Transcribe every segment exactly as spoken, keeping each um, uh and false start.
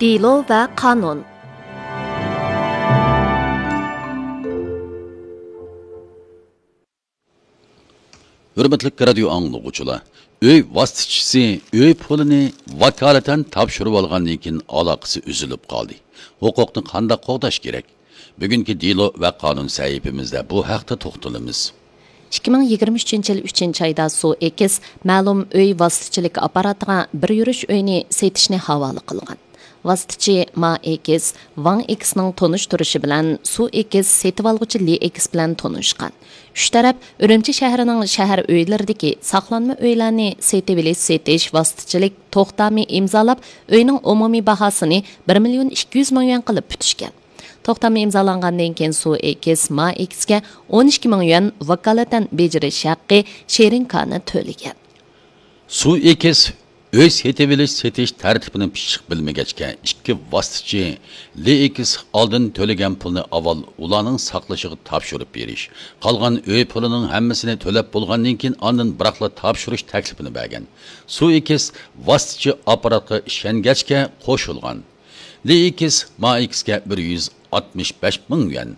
دېلو ۋە قانۇن. ھۆرمەتلىك رادىيو ئاڭلىغۇچىلار، ئۆي ۋاسىتىچىسى ئۆي پۇلىنى ۋاكالىتەن تاپشۇرۇۋالغاندىن كېيىن ئالاقىسى ئۈزۈلۈپ قالدى. ھوقۇقنى قانداق قوغداش كېرەك؟ بۈگۈنكى دېلو ۋە قانۇن سەھىپىمىزدە بۇ ھەقتە توختىلىمىز. ئىككى مىڭ يىگىرمە ئۈچىنچى يىل ئۈچىنچى ئايدا سۇ ئېكىس مەلۇم ئۆي ۋاسىتىچىلىك ئاپپاراتىغا بىر يۈرۈش ئۆينى سېتىشنى ھاۋالە قىلغان. ۋاسىتىچى ما ئېكىس ۋاڭ ئېكىسنىڭ تونۇشتۇرۇشى بىلەن سۇ ئېكىس سېتىۋالغۇچى لى ئېكىس بىلەن تونۇشقان. ئۈچ تەرەپ ئۈرۈمچى شەھىرىنىڭ شەھەر ئۆيلىرىدىكى ساقلانما ئۆيلەرنى سېتىۋېلىش سېتىش ۋاسىتىچىلىك توختامى ئىمزالاپ، ئۆينىڭ ئومۇمىي باھاسىنى بىر مىليون ئىككى يۈز مىڭ يۈەن قىلىپ پۈتۈشكەن. توختامى ئىمزالانغاندىن كېيىن سۇ ئېكىس ما ئېكىسكە ئون ئىككى مىڭ يۈەن ۋاكالىتەن بېجىرىش ھەققى شېرىنكانى تۆلىگەن. سۇ ئېكىس ئۆي سېتىۋېلىش سېتىش تەرتىپىنى پىششىق بىلمىگەچكە، ئىككى ۋاسىتىچى لى ئېكىس ئالدىن تۆلىگەن پۇلنى ئاۋۋال ئۇلارنىڭ ساقلىشىغا تاپشۇرۇپ بېرىش، قالغان ئۆي پۇلىنىڭ ھەممىسىنى تۆلەپ بولغاندىن كېيىن ئاندىن بىراقلا تاپشۇرۇش تەكلىپىنى بەرگەن. سۇ ئېكىس ۋاسىتىچى ئاپپاراتقا ئىشەنگەچكە قوشۇلغان. لى ئېكىس ما ئېكىسكە بىر يۈز ئاتمىش بەش مىڭ يۈەن،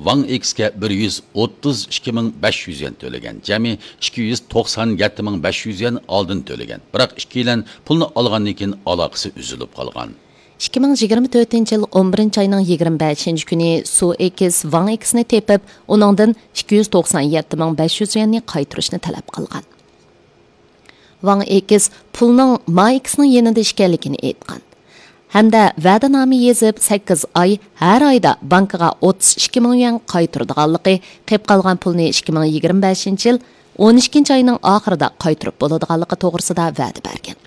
ۋاڭ ئېكىسكە بىر يۈز ئوتتۇز ئىككى مىڭ بەش يۈز يۈەن تۆلىگەن، جەمئىي ئىككى يۈز توقسان يەتتە مىڭ بەش يۈز يۈەن ئالدىن تۆلىگەن. بىراق ئىككىيلەن پۇلنى ئالغاندىن كېيىن ئالاقىسى ئۈزۈلۈپ قالغان. ئىككى مىڭ يىگىرمە تۆتىنچى يىل ئون بىرىنچى ئاينىڭ يىگىرمە بەشىنچى كۈنى سۇ ئېكىس ۋاڭ ئېكىسنى تېپىپ، ئۇنىڭدىن ئىككى يۈز توقسان يەتتە مىڭ بەش يۈز يۈەننى قايتۇرۇشنى تەلەپ قىلغان. ۋاڭ ئېكىس پۇلنىڭ ما ئېكىسنىڭ يېنىدا ئىكەنلىكىنى ئېيتقان ھەمدە ۋەدىنامە يېزىپ، سەككىز ئاي، ھەر ئايدا بانكىغا ئوتتۇز ئىككى مىڭ يۈەن قايتۇرىدىغانلىقى، قېلىپ قالغان پۇلنى ئىككى مىڭ يىگىرمە بەشىنچى يىل ئون ئىككىنچى ئاينىڭ ئاخىرىدا قايتۇرۇپ بولىدىغانلىقى توغرىسىدا ۋەدە بەرگەن.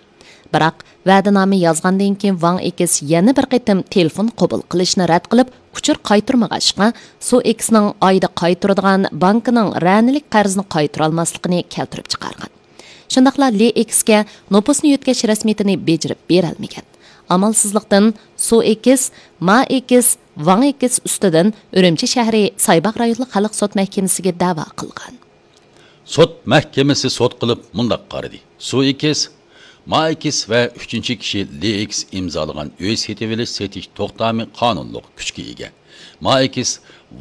بىراق، ۋەدىنامە يازغاندىن كېيىن ۋاڭ ئېكىس يەنە بىر قېتىم تېلېفون قوبۇل قىلىشنى رەت قىلىپ، ئۇچۇر قايتۇرمىغاچقا، سۇ ئېكىسنىڭ ئايدا قايتۇرىدىغان بانكىنىڭ رەنىلىك قەرزىنى قايتۇرالماسلىقىنى كەلتۈرۈپ چىقارغان. شۇنداقلا لى ئېكىسكە نوپۇسنى يۆتكەش رەسمىيىتىنى بېجىرىپ بېرەلمىگەن. ئامالسىزلىقتىن، سۇ ئېكىس، ما ئېكىس، ۋاڭ ئېكىس ئۈستىدىن ئۈرۈمچى شەھىرى سايباغ رايونلۇق خەلق سوت مەھكىمىسىگە دەۋا قىلغان. سوت مەھكىمىسى سوت قىلىپ مۇنداق قارىدى: سۇ ئېكىس، ما ئېكىس ۋە ئۈچىنچى كىشى لى ئېكىس ئىمزالىغان ئۆي سېتىۋېلىش سېتىش توختامى قانۇنلۇق كۈچكە ئىگە. ما ئېكىس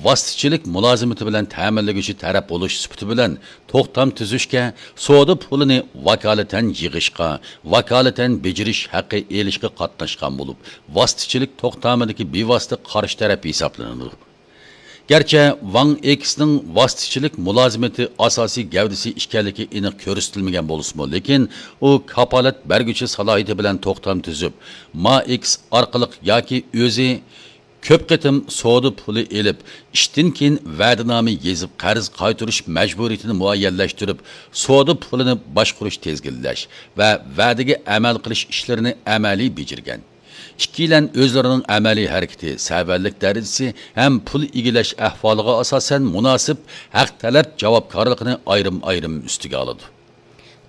ۋاسىتىچىلىك مۇلازىمىتى بىلەن تەمىنلىگۈچى تەرەپ بولۇش سۈپىتى بىلەن توختام تۈزۈشكە، سودا پۇلىنى ۋاكالىتەن يىغىشقا، ۋاكالىتەن بېجىرىش ھەققى ئېلىشقا قاتناشقان بولۇپ، ۋاسىتىچىلىك توختامىدىكى بىۋاسىتە قارشى تەرەپ ھېسابلىنىدۇ. گەرچە ۋاڭ ئېكىسنىڭ ۋاسىتىچىلىك مۇلازىمىتى ئاساسىي گەۋدىسى ئىكەنلىكى ئېنىق كۆرسىتىلمىگەن بولسىمۇ، لېكىن ئۇ كاپالەت بەرگۈچى سالاھىيىتى بىلەن توختام تۈزۈپ، ما ئېكىس ئارقىلىق ياكى ئۆزى كۆپ قېتىم سودا پۇلى ئېلىپ، ئىشتىن كېيىن ۋەدىنامە يېزىپ، قەرز قايتۇرۇش مەجبۇرىيىتىنى مۇئەييەنلەشتۈرۈپ، سودا پۇلىنى باشقۇرۇش، تىزگىنلەش ۋە ۋەدىگە ئەمەل قىلىش ئىشلىرىنى ئەمەلىي بېجىرگەن. ئىككىيلەن ئۆزلىرىنىڭ ئەمەلىي ھەرىكىتى، سەۋەنلىك دەرىجىسى ھەم پۇل ئىگىلەش ئەھۋالىغا ئاساسەن مۇناسىپ ھەق تەلەپ جاۋابكارلىقىنى ئايرىم-ئايرىم ئۈستىگە ئالىدۇ.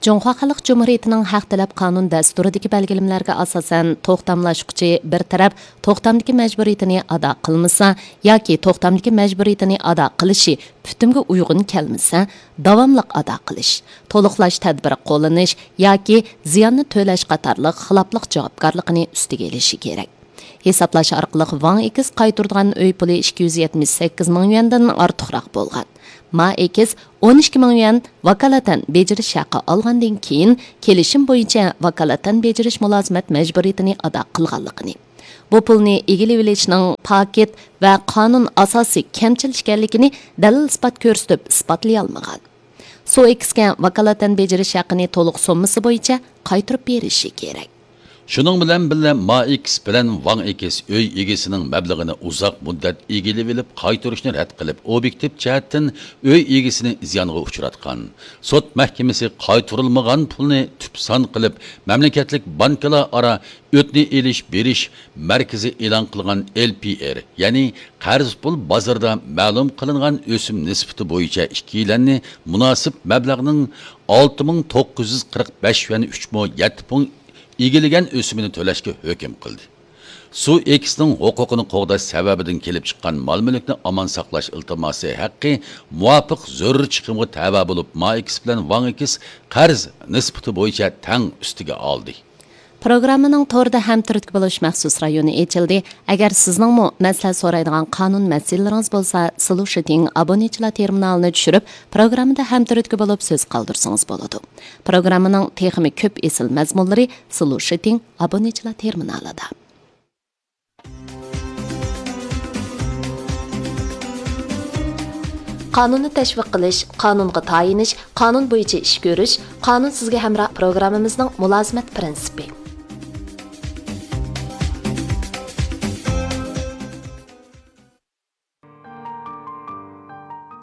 جۇڭخۇا خەلق جۇمھۇرىيىتىنىڭ ھەق تەلەپ قانۇن دەستۇرىدىكى بەلگىلىمىلەرگە ئاساسەن، توختاملاشقۇچى بىر تەرەپ توختامدىكى مەجبۇرىيىتىنى ئادا قىلمىسا ياكى توختامدىكى مەجبۇرىيىتىنى ئادا قىلىشى پۈتۈمگە ئۇيغۇن كەلمىسە، داۋاملىق ئادا قىلىش، تولۇقلاش تەدبىرى قوللىنىش ياكى زىياننى تۆلەش قاتارلىق خىلاپلىق جاۋابكارلىقىنى ئۈستىگە ئېلىشى كېرەك. ھېسابلاش ئارقىلىق ۋاڭ ئېكىس قايتۇرىدىغان ئۆي پۇلى ئىككى يۈز يەتمىش سەككىز مىڭ يۈەندىن ئارتۇقراق بولغان. ما ئېكىس ئون ئىككى مىڭ يۈەن ۋاكالىتەن بېجىرىش ھەققى ئالغاندىن كېيىن، كېلىشىم بويىچە ۋاكالىتەن بېجىرىش مۇلازىمەت مەجبۇرىيىتىنى ئادا قىلغانلىقىنى، بۇ پۇلنى ئىگىلىۋېلىشنىڭ پاكىت ۋە قانۇن ئاساسىي كەمچىل ئىكەنلىكىنى دەلىل-ئىسپات كۆرسىتىپ ئىسپاتلىيالمىغان. سۇ ئېكىسكە ۋاكالىتەن بېجىرىش ھەققىنى تولۇق سوممىسى بويىچە قايتۇرۇپ بېرىشى كېرەك. شۇنىڭ بىلەن بىللە، ما ئېكىس بىلەن ۋاڭ ئېكىس ئۆي ئىگىسىنىڭ مەبلىغىنى ئۇزاق مۇددەت ئىگىلىۋېلىپ قايتۇرۇشنى رەت قىلىپ، ئوبيېكتىپ جەھەتتىن ئۆي ئىگىسىنى زىيانغا ئۇچراتقان. سوت مەھكىمىسى قايتۇرۇلمىغان پۇلنى تۈپ سان قىلىپ، مەملىكەتلىك بانكىلار ئارا ئۆتنە ئېلىش بېرىش مەركىزى ئېلان قىلغان ئېل پى ئېر، يەنى قەرز پۇل بازىرىدا مەلۇم قىلىنغان ئۆسۈم نىسبىتى بويىچە ئىككىيلەننى مۇناسىپ مەبلەغنىڭ ئالتە مىڭ توققۇز يۈز قىرىق بەش يۈەن ئۈچ مو يەتتە پۇڭ ئىگىلىگەن ئۆسۈمىنى تۆلەشكە ھۆكۈم قىلدى. سۇ ئېكسنىڭ ھوقۇقىنى قوغداش سەۋەبىدىن كېلىپ چىققان مال-مۈلۈكنى ئامان ساقلاش ئىلتىماسى ھەققى مۇۋاپىق زۆرۈر چىقىمغا تەۋە بولۇپ، ما ئېكس بىلەن ۋاڭ ئېكس قەرز نىسبىتى بويىچە تەڭ ئۈستىگە ئالدى. پروگراممىنىڭ توردا ھەمتۈرتكە بولۇش مەخسۇس رايونى ئېچىلدى. ئەگەر سىزنىڭمۇ مەسلىھەت سورايدىغان قانۇن مەسىلىلىرىڭىز بولسا، سلۇشىتىڭ ئابونېنتچىلار تېرمىنالىنى چۈشۈرۈپ، پروگراممىدا ھەمتۈرتكە بولۇپ سۆز قالدۇرسىڭىز بولىدۇ. پروگراممىنىڭ تېخىمۇ كۆپ ئېسىل مەزمۇنلىرى سلۇشىتىڭ ئابونېنتچىلار تېرمىنالىدا. قانۇننى تەشۋىق قىلىش، قانۇنغا تايىنىش، قانۇن بويىچە ئىش كۆرۈش، قانۇن سىزگە ھەمراھ پروگراممىمىزنىڭ مۇلازىمەت پىرىنسىپى.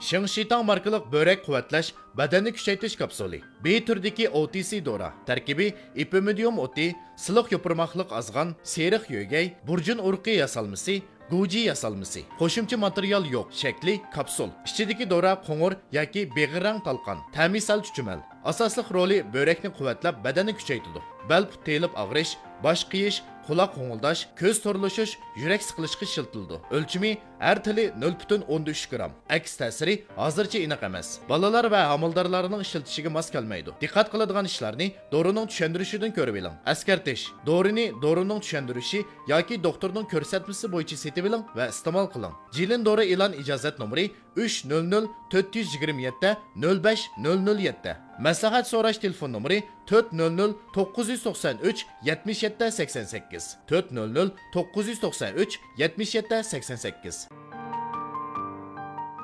شېڭشىتاڭ ماركىلىق بۆرەك قۇۋۋەتلەش بەدەننى كۈچەيتىش كاپسۇلى. بى تۈرىدىكى ئو تى سى دورا. تەركىبى ئېپىمىدىيۇم ئوتى، سىلىق يوپۇرماقلىق ئازغان، سېرىق يۆگەي، بۇرجۇن ئۇرۇقى ياسالمىسى، گۇجى ياسالمىسى. قوشۇمچە ماتېرىيال يوق. شەكلى كاپسۇل. ئىچىدىكى دورا قوڭۇر ياكى بېغىر رەڭ تالقان. تەمى سەل چۈچۈمەل. ئاساسلىق رولى بۆرەكنى قۇۋۋەتلەپ، بەدەننى كۈچەيتىدۇ. بەل پۇت تېيىلىپ ئاغرىش، باش قېيىش، قۇلاق غوڭۇلداش، كۆز تورلىشىش، يۈرەك سىقىلىشقا ئىشلىتىلىدۇ. ئۆلچىمى ھەر تىلى نۆل پۈتۈن ئوندىن ئۈچ گرام. ئەكس تەسىرى ھازىرچە ئېنىق ئەمەس. بالىلار ۋە ھامىلىدارلارنىڭ ئىشلىتىشىگە ماس كەلمەيدۇ. دىققەت قىلىدىغان ئىشلارنى دورىنىڭ چۈشەندۈرۈشىدىن كۆرۈۋېلىڭ. ئەسكەرتىش: دورىنى دورىنىڭ چۈشەندۈرۈشى ياكى دوختۇرنىڭ كۆرسەتمىسى بويىچە سېتىۋېلىڭ ۋە ئىستېمال قىلىڭ. جىلىن دورا ئېلان ئىجازەت نومۇرى ئۈچ نۆل نۆل تۆت يۈز يىگىرمە يەتتە نۆل بەش نۆل نۆل يەتتە. مەسلىھەت سوراش تېلېفون نومۇرى تۆت نۆل نۆل توققۇز يۈز توقسان ئۈچ يەتمىش يەتتە سەكسەن سەككىز، تۆت نۆل نۆل توققۇز يۈز توقسان ئۈچ يەتمىش يەتتە سەكسەن سەككىز.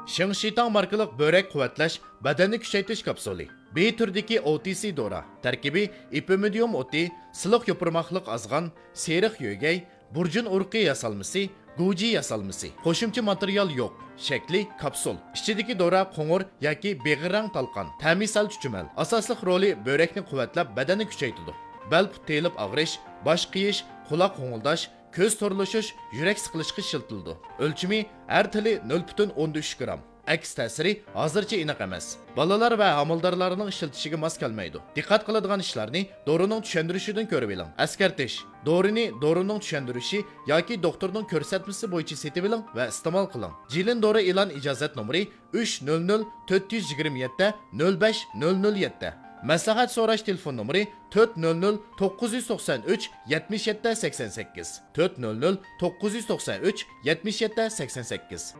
شېڭشىتاڭ ماركىلىق بۆرەك قۇۋۋەتلەش بەدەننى كۈچەيتىش كاپسۇلى. بى تۈرىدىكى ئو تى سى دورا. تەركىبى ئېپىمىدىيۇم ئوتى، سىلىق يوپۇرماقلىق ئازغان، سېرىق يۆگەي، بۇرجۇن ئۇرۇقى ياسالمىسى، گۇجى ياسالمىسى. قوشۇمچە ماتېرىيال يوق. شەكلى كاپسۇل. ئىچىدىكى دورا قوڭۇر ياكى بېغىر رەڭ تالقان. تەمى سەل چۈچۈمەل. ئاساسلىق رولى بۆرەكنى قۇۋۋەتلەپ، بەدەننى كۈچەيتىدۇ. بەل پۇت تېيىلىپ ئاغرىش، باش قېيىش، قۇلاق غوڭۇلداش، كۆز تورلىشىش، يۈرەك سىقىلىشقا ئىشلىتىلىدۇ. ئۆلچىمى ھەر تىلى نۆل پۈتۈن ئوندىن ئۈچ گرام. ئەكس تەسىرى ھازىرچە ئېنىق ئەمەس. بالىلار ۋە ھامىلىدارلارنىڭ ئىشلىتىشىگە ماس كەلمەيدۇ. دىققەت قىلىدىغان ئىشلارنى دورىنىڭ چۈشەندۈرۈشىدىن كۆرۈۋېلىڭ. ئەسكەرتىش: دورىنى دورىنىڭ چۈشەندۈرۈشى ياكى دوختۇرنىڭ كۆرسەتمىسى بويىچە سېتىۋېلىڭ ۋە ئىستېمال قىلىڭ. جىلىن دورا ئېلان ئىجازەت نومۇرى ئۈچ نۆل نۆل تۆت يۈز يىگىرمە يەتتە نۆل بەش نۆل نۆل يەتتە. مەسلىھەت سوراش تېلېفون نومۇرى تۆت نۆل نۆل توققۇز يۈز توقسان ئۈچ يەتمىش يەتتە سەكسەن سەككىز، تۆت نۆل نۆل توققۇز يۈز توقسان ئۈچ يەتمىش يەتتە سەكسەن سەككىز.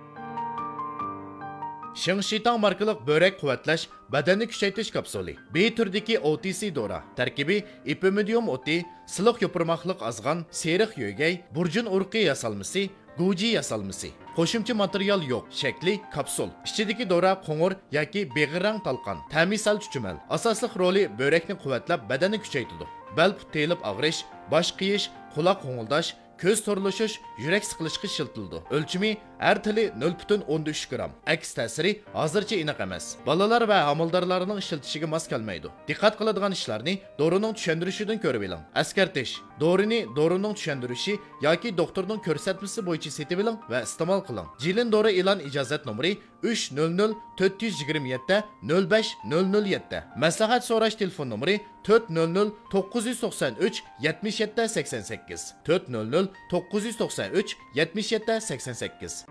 شېڭشىتاڭ ماركىلىق بۆرەك قۇۋۋەتلەش بەدەننى كۈچەيتىش كاپسۇلى. بى تۈرىدىكى ئو تى سى دورا. تەركىبى ئېپىمىدىيۇم ئوتى، سىلىق يوپۇرماقلىق ئازغان، سېرىق يۆگەي، بۇرجۇن ئۇرۇقى ياسالمىسى، گۇجى ياسالمىسى. قوشۇمچە ماتېرىيال يوق. شەكلى كاپسۇل. ئىچىدىكى دورا قوڭۇر ياكى بېغىر رەڭ تالقان. تەمى سەل چۈچۈمەل. ئاساسلىق رولى بۆرەكنى قۇۋۋەتلەپ، بەدەننى كۈچەيتىدۇ. بەل پۇت تېيىلىپ ئاغرىش، باش قېيىش، قۇلاق غوڭۇلداش، كۆز تورلىشىش، يۈرەك سىقىلىشقا ئىشلىتىلىدۇ. ئۆلچىمى ھەر تىلى نۆل پۈتۈن ئوندىن ئۈچ گرام. ئەكس تەسىرى ھازىرچە ئېنىق ئەمەس. بالىلار ۋە ھامىلىدارلارنىڭ ئىشلىتىشىگە ماس كەلمەيدۇ. دىققەت قىلىدىغان ئىشلارنى دورىنىڭ چۈشەندۈرۈشىدىن كۆرۈۋېلىڭ. ئەسكەرتىش: دورىنى دورىنىڭ چۈشەندۈرۈشى ياكى دوختۇرنىڭ كۆرسەتمىسى بويىچە سېتىۋېلىڭ ۋە ئىستېمال قىلىڭ. جىلىن دورا ئېلان ئىجازەت نومۇرى ئۈچ نۆل نۆل تۆت يۈز يىگىرمە يەتتە نۆل بەش نۆل نۆل يەتتە. مەسلىھەت سوراش تېلېفون نومۇرى تۆت نۆل نۆل توققۇز يۈز توقسان ئۈچ يەتمىش يەتتە سەكسەن سەككىز، تۆت نۆل نۆل توققۇز يۈز توقسان ئۈچ يەتمىش يەتتە سەكسەن سەككىز.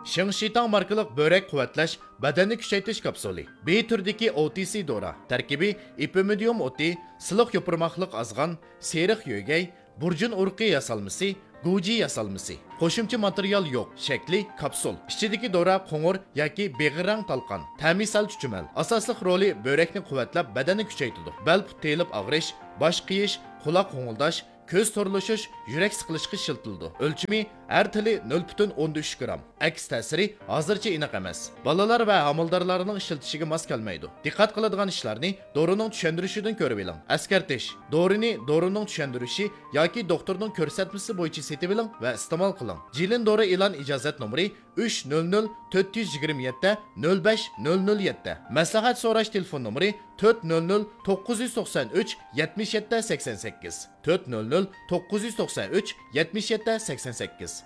شېڭشىتاڭ ماركىلىق بۆرەك قۇۋۋەتلەش بەدەننى كۈچەيتىش كاپسۇلى. بى تۈرىدىكى ئو تى سى دورا. تەركىبى ئېپىمىدىيۇم ئوتى، سىلىق يوپۇرماقلىق ئازغان، سېرىق يۆگەي، بۇرجۇن ئۇرۇقى ياسالمىسى، گۇجى ياسالمىسى. قوشۇمچە ماتېرىيال يوق. شەكلى كاپسۇل. ئىچىدىكى دورا قوڭۇر ياكى بېغىر رەڭ تالقان. تەمى سەل چۈچۈمەل. ئاساسلىق رولى بۆرەكنى قۇۋۋەتلەپ، بەدەننى كۈچەيتىدۇ. بەل پۇت تېيىلىپ ئاغرىش، باش قېيىش، قۇلاق غوڭۇلداش، كۆز تورلىشىش، يۈرەك سىقىلىشقا ئىشلىتىلىدۇ. ئۆلچىمى ھەر تىلى نۆل پۈتۈن ئوندىن ئۈچ گرام. ئەكس تەسىرى ھازىرچە ئېنىق ئەمەس. بالىلار ۋە ھامىلىدارلارنىڭ ئىشلىتىشىگە ماس كەلمەيدۇ. دىققەت قىلىدىغان ئىشلارنى دورىنىڭ چۈشەندۈرۈشىدىن كۆرۈۋېلىڭ. ئەسكەرتىش: دورىنى دورىنىڭ چۈشەندۈرۈشى ياكى دوختۇرنىڭ كۆرسەتمىسى بويىچە سېتىۋېلىڭ ۋە ئىستېمال قىلىڭ. جىلىن دورا ئېلان ئىجازەت نومۇرى ئۈچ نۆل نۆل تۆت يۈز يىگىرمە يەتتە نۆل بەش نۆل نۆل يەتتە. مەسلىھەت سوراش تېلېفون نومۇرى تۆت نۆل نۆل توققۇز يۈز توقسان ئۈچ يەتمىش يەتتە سەكسەن سەككىز، تۆت نۆل نۆل توققۇز يۈز توقسان ئۈچ يەتمىش يەتتە سەكسەن سەككىز.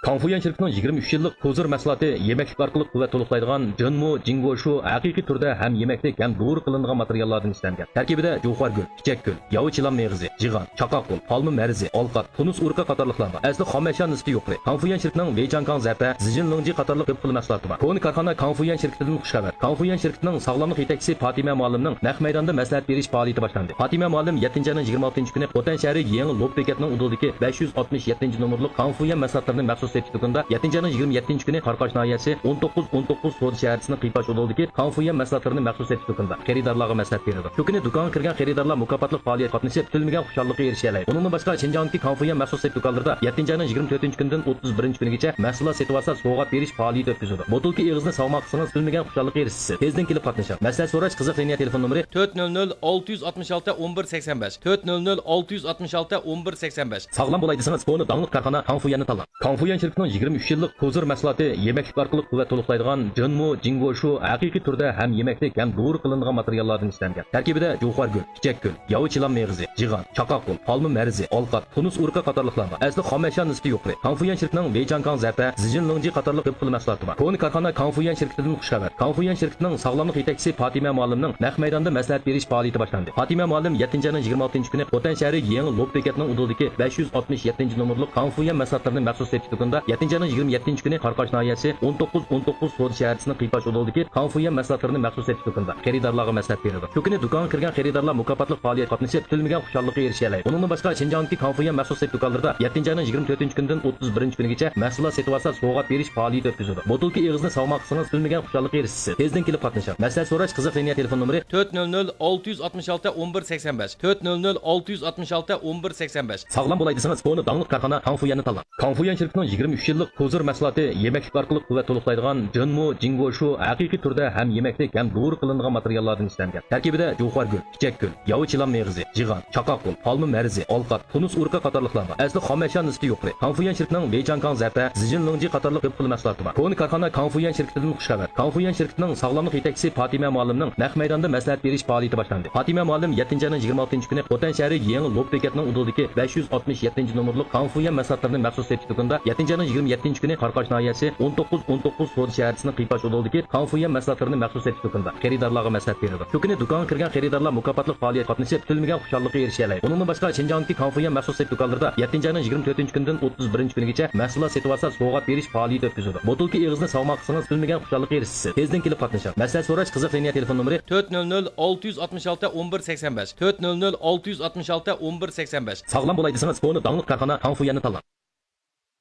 خاڭفۇيۈەن شىركىتىنىڭ يىگىرمە ئۈچ يىللىق كوزىر مەھسۇلاتى يېمەكلىك ئارقىلىق قۇۋۋەت تولۇقلايدىغان جىنمۇ، جىڭگوشۇ ھەقىقىي تۈردە ھەم يېمەكلىك، ھەم دورا قىلىنىدىغان ماتېرىياللاردىن ئىشلەنگەن. تەركىبىدە جۇخۇا گۈل، چىچەك گۈل، ياۋا چىلان مېغىزى، جىغان، چاقاق گۈل، پالما مەرىزى، ئالقات، تۇنۇس ئۇرۇقى قاتارلىقلار بار. ئەسلى خام ئەشيا نىسبىتى يۇقىرى. خاڭفۇيۈەن شىركىتىنىڭ ۋېيچاڭكاڭ زەپە، زىجىنلىڭجى قاتارلىق كۆپ خىل مەھسۇلاتى بار. كونا كارخانا خاڭفۇيۈەن شىركىتىدىن خۇشخەۋەر. خاڭفۇيۈەن شىركىتىنىڭ ساغلاملىق يېتەكچىسى پاتىمە مۇئەللىمنىڭ نەق مەيداندا مەسلىھەت بېرىش پائالىيىتى باشلاندى. پاتىمە مۇئەللىم يەتتىنچى ئاينىڭ يىگىرمە ئالتىنچى كۈنى خوتەن شەھىرى يېڭى لوپ بېكەتنىڭ ئۇدۇلىدىكى بەش يۈز ئاتمىش يەتتىنچى نومۇرلۇق خاڭفۇيۈەن مەھسۇلاتلىرىنى مەخسۇس سېتىش دۇكىنىدا، يەتتىنچى ئاينىڭ يىگىرمە يەتتىنچى كۈنى قاراقاش ناھىيەسى ئون توققۇز ئون توققۇز سودا شەھەرچىسىنىڭ قىيپاش ئۇدۇلىدىكى خاڭفۇيۈەن مەھسۇلاتلىرىنى مەخسۇس سېتىش دۇكىنىدا خېرىدارلارغا مەسلىھەت بېرىدۇ. شۇ كۈنى دۇكانغا كىرگەن خېرىدارلار مۇكاپاتلىق پائالىيەتكە قاتنىشىپ، كۈتۈلمىگەن خۇشاللىققا ئېرىشەلەيدۇ. ئۇنىڭدىن باشقا، شىنجاڭدىكى خاڭفۇيۈەن مەخسۇس سېتىش دۇكانلىرىدا يەتتىنچى ئاينىڭ يىگىرمە تۆتىنچى كۈنىدىن ئوتتۇز بىرىنچى كۈنىگىچە مەھسۇلات سېتىۋالسا، سوۋغات بېرىش پائالىيىتى ئۆتكۈزىدۇ. بوتۇلكا ئېغىزىنى ساۋغا قىلسىڭىز، كۈتۈلمىگەن خۇشاللىققا ئېرىشىسىز. تېزدىن كېلىپ قاتنىشىڭ. مەسلىھەت سوراش قىزىق لىنىيە تېلېفون نومۇرى تۆت نۆل نۆل ئالتە يۈز ئاتمىش ئالتە ئون بىر سەكسەن بەش، تۆت نۆل نۆل ئالتە يۈز ئاتمىش ئالتە ئون بىر سەكسەن بەش. ساغلام بولاي دېسىڭىز، كونا داڭلىق كارخانا خاڭفۇيۈەننى تاللاڭ. خاڭفۇيۈەن شىركىتىنىڭ يىگىرمە ئۈچ يىللىق كوزىر مەھسۇلاتى يېمەكلىك ئارقىلىق قۇۋۋەت تولۇقلايدىغان جىنمۇ، جىڭگوشۇ ھەقىقىي تۈردە ھەم يېمەكلىك، ھەم دورا قىلىنىدىغان ماتېرىياللاردىن ئىشلەنگەن. تەركىبىدە جۇخۇا گۈل، چىچەك گۈل، ياۋا چىلان مېغىزى، جىغان، چاقاق گۈل، پالما مەرىزى، ئالقات، تۇنۇس ئۇرۇقى قاتارلىقلار بار. ئەسلى خام ئەشيا نىسبىتى يۇقىرى. خاڭفۇيۈەن شىركىتىنىڭ ۋېيچاڭكاڭ زەپە، زىجىنلىڭجى قاتارلىق كۆپ خىل مەھسۇلاتى بار. كونا كارخانا خاڭفۇيۈەن شىركىتىدىن خۇشخەۋەر. خاڭفۇيۈەن شىركىتىنىڭ ساغلاملىق يېتەكچىسى پاتىمە مۇئەللىمنىڭ نەق مەيداندا مەسلىھەت بېرىش پائالىيىتى باشلاندى. پاتىمە مۇئەللىم يەتتىنچى ئاينىڭ يىگىرمە ئالتىنچى كۈنى خوتەن شەھىرى يېڭى لوپ بېكەتنىڭ ئۇدۇلىدىكى بەش يۈز ئاتمىش يەتتىنچى نومۇرلۇق خاڭفۇيۈەن مەھسۇلاتلىرىنى مەخسۇس سېتىش دۇكىنىدا، يەتتىنچى ئاينىڭ يىگىرمە يەتتىنچى كۈنى قاراقاش ناھىيەسى ئون توققۇز ئون توققۇز سودا شەھەرچىسىنىڭ قىيپاش ئۇدۇلىدىكى خاڭفۇيۈەن مەھسۇلاتلىرىنى مەخسۇس سېتىش دۇكىنىدا خېرىدارلارغا مەسلىھەت بېرىدۇ. شۇ كۈنى دۇكانغا كىرگەن خېرىدارلار مۇكاپاتلىق پائالىيەتكە قاتنىشىپ، كۈتۈلمىگەن خۇشاللىققا ئېرىشەلەيدۇ. ئۇنىڭدىن باشقا، شىنجاڭدىكى خاڭفۇيۈەن مەخسۇس سېتىش دۇكانلىرىدا يەتتىنچى ئاينىڭ يىگىرمە تۆتىنچى كۈنىدىن ئوتتۇز بىرىنچى كۈنىگىچە مەھسۇلات سېتىۋالسا، سوۋغات بېرىش پائالىيىتى ئۆتكۈزىدۇ. بوتۇلكا ئېغىزىنى ساۋغا قىلسىڭىز، كۈتۈلمىگەن خۇشاللىققا ئېرىشىسىز. تېزدىن كېلىپ قاتنىشىڭ. مەسلىھەت سوراش قىزىق لىنىيە تېلېفون نومۇرى تۆت نۆل نۆل ئالتە يۈز ئاتمىش ئالتە ئون بىر سەكسەن بەش، تۆت نۆل نۆل ئالتە يۈز ئاتمىش ئالتە ئون بىر سەكسەن بەش. ساغلام بولاي دېسىڭىز، كونا داڭلىق كارخانا خاڭفۇيۈەننى تاللاڭ. خاڭفۇيۈەن شىركىتىنىڭ يىگىرمە ئۈچ يىللىق كوزىر مەھسۇلاتى يېمەكلىك ئارقىلىق قۇۋۋەت تولۇقلايدىغان جىنمۇ، جىڭگوشۇ ھەقىقىي تۈردە ھەم يېمەكلىك، ھەم دورا قىلىنىدىغان ماتېرىياللاردىن ئىشلەنگەن. تەركىبىدە جۇخۇا گۈل، چىچەك گۈل، ياۋا چىلان مېغىزى، جىغان، چاقاق گۈل، پالما مەرىزى، ئالقات، تۇنۇس ئۇرۇقى قاتارلىقلار بار. ئەسلى خام ئەشيا نىسبىتى يۇقىرى. خاڭفۇيۈەن شىركىتىنىڭ ۋېيچاڭكاڭ زەپە، زىجىنلىڭجى قاتارلىق كۆپ خىل مەھسۇلاتى بار. كونا كارخانا خاڭفۇيۈەن شىركىتىدىن خۇشخەۋەر. خاڭفۇيۈەن شىركىتىنىڭ ساغلاملىق يېتەكچىسى پاتىمە مۇئەللىمنىڭ نەق مەيداندا مەسلىھەت بېرىش پائالىيىتى باشلاندى. پاتىمە مۇئەللىم يەتتىنچى ئاينىڭ يىگىرمە ئالتىنچى كۈنى خوتەن شەھىرى يېڭى لوپ بېكەتنىڭ ئۇدۇلىدىكى بەش يۈز ئاتمىش يەتتىنچى نومۇرلۇق خاڭفۇيۈەن مەھسۇلاتلىرىنى مەخسۇس سېتىش دۇكىنىدا، يەتتىنچى ئاينىڭ يىگىرمە يەتتىنچى كۈنى قاراقاش ناھىيەسى ئون توققۇز ئون توققۇز سودا شەھەرچىسىنىڭ قىيپاش ئۇدۇلىدىكى خاڭفۇيۈەن مەھسۇلاتلىرىنى مەخسۇس سېتىش دۇكىنىدا خېرىدارلارغا مەسلىھەت بېرىدۇ. شۇ كۈنى دۇكانغا كىرگەن خېرىدارلار مۇكاپاتلىق پائالىيەتكە قاتنىشىپ، كۈتۈلمىگەن خۇشاللىققا ئېرىشەلەيدۇ. ئۇنىڭدىن باشقا، شىنجاڭدىكى خاڭفۇيۈەن مەخسۇس سېتىش دۇكانلىرىدا يەتتىنچى ئاينىڭ يىگىرمە تۆتىنچى كۈنىدىن ئوتتۇز بىرىنچى كۈنىگىچە مەھسۇلات سېتىۋالسا، سوۋغات بېرىش پائالىيىتى ئۆتكۈزىدۇ. بوتۇلكا ئېغىزىنى ساۋغا قىلسىڭىز، كۈتۈلمىگەن خۇشاللىققا ئېرىشىسىز. تېزدىن كېلىپ قاتنىشىڭ. مەسلىھەت سوراش قىزىق لىنىيە تېلېفون نومۇرى تۆت نۆل نۆل ئالتە يۈز ئاتمىش ئالتە ئون بىر سەكسەن بەش، تۆت نۆل نۆل ئالتە يۈز ئاتمىش ئالتە ئون بىر سەكسەن بەش. ساغلام بولاي دېسىڭىز، كونا داڭلىق كارخانا خاڭفۇيۈەننى تاللاڭ.